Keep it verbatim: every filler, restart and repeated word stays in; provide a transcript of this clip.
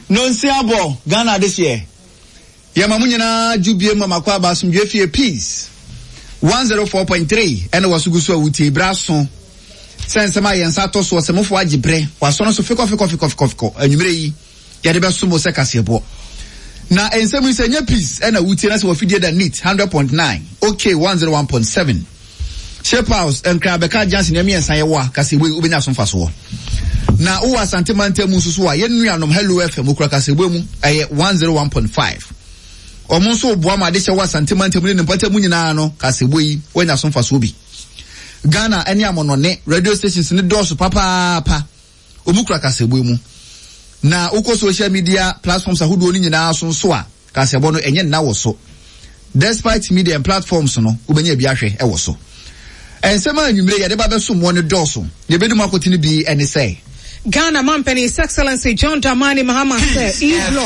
Nonsia bɔ Ghana adehyeɛ. Yɛma mo nyinaa dwo bie mu amakɔ aba asomdwe fie Peace one zero four point three ɛna wɔ so gu so a wotie berɛ aso sɛ nsɛm a yɛn nsa atɔ soɔ sɛ mofoɔ agye berɛ wasɔ no so fikɔ fikɔ fikɔ fikɔ fikɔ. Anwummerɛ yi yɛde bɛso mo sɛ kaseɛbɔ na nsɛm yi sɛ nyɛ Peace ɛna wotie na sɛ wɔfidie da neat hundred point nine, okay, one zero one point seven, Shape House, Nkran bɛka Johnson nneɛma mmiɛnsa yɛwɔ a kaseɛbɔ yi wobɛnya so mfasoɔ. Na wowɔ Asante mantam mu nso so a, yɛn nuanom Hello F M okura kaseɛbɔ mu, ɛyɛ one zero one point five. Ɔmo nso boa ma adehyɛ wɔ Asante mantam ne ne mpɔtam mu nyinaa no, kaseɛbɔ yi wɔanya so mfasoɔ bi. Ghana ne amɔnɔne radio stations ne dɔɔso papaapa, ɔmu kura kaseɛbɔ mu. Na wokɔ social media platforms ahodoɔ no nyinaa so nso a, kaseɛbɔ no ɛnyɛ nna wɔ so. Despite media and platforms no, wobɛnya bi ahwɛ ɛwɔ so. Nsɛm a anwummere yɛde ba bɛso mmoɔ no dɔɔso. Yɛbɛdi mu akɔtene bi ɛne sɛ Ghana Mampani, His Excellency John Dramani Mahama sɛ e